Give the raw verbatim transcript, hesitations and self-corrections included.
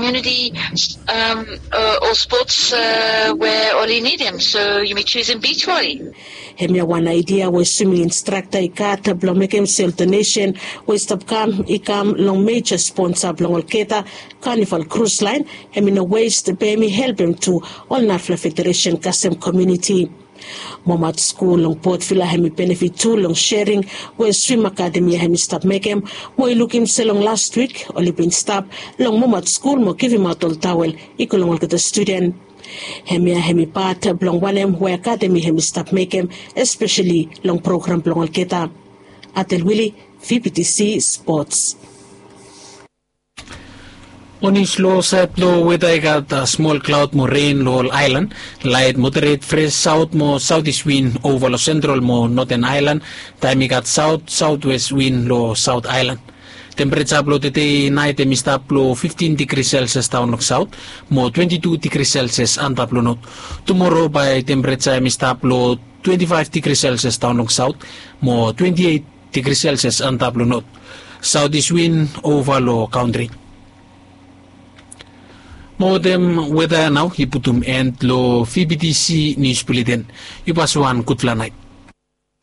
community, um, uh, ol sports, uh, we oli nidim, so yumi chusum beach volley. Hemia wan aidia we swimming instrakta i gat blong mekem sel donesen we i stap kam i kam long meja sponsa blong olgeta, Carnival Cruise Line. Hem i no west be hem i helpem tu ol narafala federesen kasem komuniti. Momat skul long Port Vila hem i benefit tu long sharing we swim akademi ya hem i stap mekem, mo i lukim se long last wik oli bin stap long Momat skul mo givimaot ol tawel i go long olgeta studen. Hemia hem i pat blong wanem we akademi hem i stap mekem, espeseli long program blong olgeta. Atel Wili, V B T C Sports. Onis lo saed blo weda i gat smol klaod mo ren lo ol aelan. Laet moderet fres saot mo saotis win ova lo sentrol mo noten aelan, taem i gat saot saotwes win lo saot aelan. Tempereja blo tede naet hem i stap lo fiftin digri selsias daon long saot mo twenti tu digri selsias antap lo not. Tumoro bae tempereja hem i stap lo twenti faef digri selsias daon long saot mo twenti eit digri selsias antap lo not. Saotis win ova lo kantri. Mo wetem weda ya nao i putum en lo V B T C nius buleten. Yu pas wan gudfala naet.